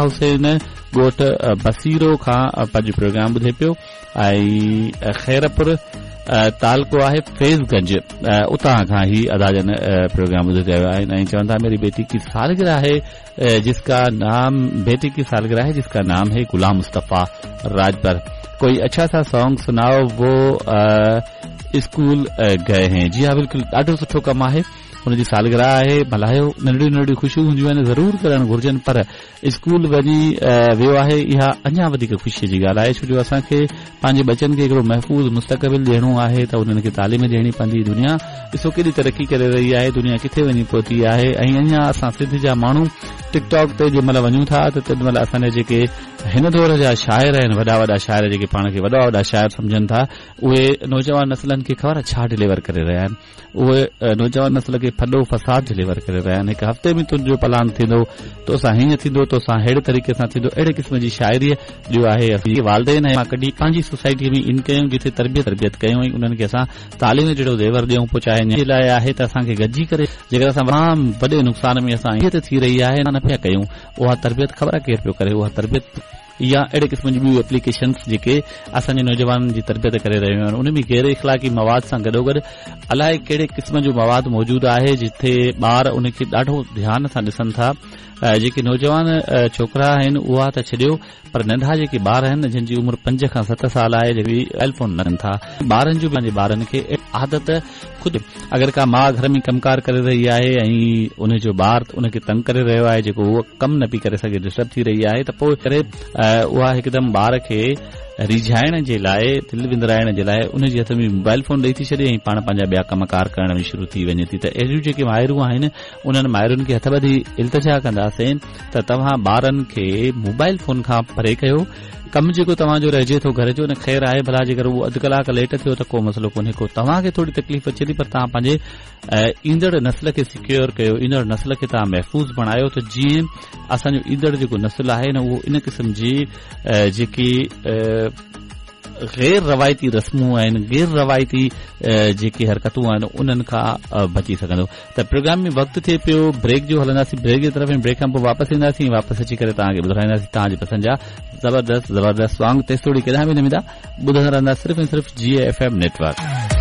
حسين ڳوٺ بصيرو کان پنهنجو پروگرام ٻڌي پيو ۽ خيرپور تعلقو آهي فيض گنج اتان کان هي ادا جن پروگرام ٻڌي رهيا آهن ۽ چون ٿا ميري بيٽي ڪي سالگرهه آهي جس ڪا نام بيٽي ڪي سالگرهه هي جس ڪا نام هي غلام مصطفيٰ راجپر ڪوئي اڇا سا سانگ سنائو وو اسڪول گئي هين جي ها بلڪل ڏاڍو سٺو ڪم آهي هن جي سالگرهه آهي ملهايو ننڍڙيون ننڍڙيون خوشيون هونديون آهن ضرور ڪرڻ گهرجن پر اسڪول وڃي ويو آهي اها اڃا وڌيڪ خوشي جي ڳالهه آهي ڇو جو اسان کي پنهنجي ٻچن کي هڪڙو محفوظ مستقبل ڏيڻو آهي ته انهن کي تعليم ڏيڻي پوندي دنيا ڏسو ڪيڏي ترقي ڪري رهي آهي دنيا ڪٿي وڃي پهتي آهي ۽ اڃا اسان سنڌ جا ماڻهو ٽڪ ٽاڪ تي جنهن مهل وڃون ٿا ته تنهن مهل اسان جا جيڪي هن دور جا شاعر آهن وڏا وڏا شاعر جيڪي پاڻ کي وڏا وڏا شاعر سمجهن ٿا اهي نوجوان نسلن کي خبر ڇا ڊليور ڪري رهيا آهن اهي نوجوان نسل کي ڦڏو فساد ڊليور ڪري رهيا آهن هڪ هفتي ۾ تنهنجو پلاند ٿيندو توسان هيئن ٿيندو توسان ههڙي طريقي سان ٿيندو اهڙي قسم جي شاعري جو آهي اسين والدين مان ڪڍي پنهنجي سوسائٽي ۾ ان ڪيون جتي تربيت تربيت ڪيون ۽ انهن کي اسان تعليم جهڙو زيور ڏيون پوء چاهي جي لاء آهي ته اسان کي گڏجي ڪري جيڪر اسان تمام وڏي نقصان ۾ اسان ته ٿي رهي آهي نه پيا ڪيون اها تربيت خبر آهي ڪير پيو ڪري اها تربيت يا اهڙي قسم جون ٻيون ايپليڪيشنز جيڪي اسان جي نوجوانن جي تربيت ڪري رهيون آهن ان ۾ غير اخلاقي مواد سان گڏوگڏ الائي ڪهڙي قسم جو مواد موجود آهي جتي ٻار ان کي ڏاڍو ڌيان سان ڏسن ٿا جيڪي نوجوان ڇوڪرا آهن اها ته ڇڏيو پر ننڍا جيڪي ٻار آهن جن جي عمر پنج کان ست سال آهي جيڪي موبائل فون نه ٿا ٻارن جو پنهنجي ٻارن کي عادت خود اگر ڪا ماء گهر ۾ ڪم ڪار ڪري رهي آهي ۽ ان جو ٻار ان کي تنگ ڪري رهيو آهي جيڪو هوء ڪم نه پئي ڪري سگهي ڊسٽرب ٿي رهي آهي ته پوء ڪري اها هڪدم ٻار کي ريجهائڻ جي لاء دل وندرائڻ جي لاء ان جي هٿ ۾ موبائل فون ڏئي ٿي ڇڏي ۽ پاڻ پنهنجا ٻيا ڪم ڪار ڪرڻ ۾ شروع ٿي وڃي ٿي ته اهڙيون جيڪي مائرون آهن انهن مائرن کي هٿ ٻڌي التجا ڪنداسين ته توهان ٻارن کي موبائل فون کان پري ڪيو ڪم جيڪو توهان جو رهجي ٿو گهر جو نه خير آهي ڀلا جيڪر اهو اڌ ڪلاڪ ليٽ ٿيو ته ڪو مسئلو ڪونهي ڪو توهان کي ٿوري تڪليف اچي ٿي پر توهان پنهنجي ايندڙ نسل کي سيڪيور ڪيو ايندڙ نسل کي توهان محفوظ بڻايو ته جيئن اسان جو ايندڙ جيڪو نسل آهي نه اهو ان قسم جي جيڪي غير روايتي رسمون آهن غير روايتي جيڪي حرڪتون آهن انهن کان بچي سگهندو ته پروگرام ۾ وقت ٿئي پيو بريڪ جو هلنداسين بريڪ جي طرف ۽ بريڪ کان پوء واپس اينداسين واپس اچي ڪري توهان کي ٻڌرائينداسين توهان جي پسند جا زبردست زبردست سانگ تيستوڙي ڪيڏانهن به نه ويندا ٻڌندا رهندا صرف ۽ صرف جي ايف ايم نيٽورڪ.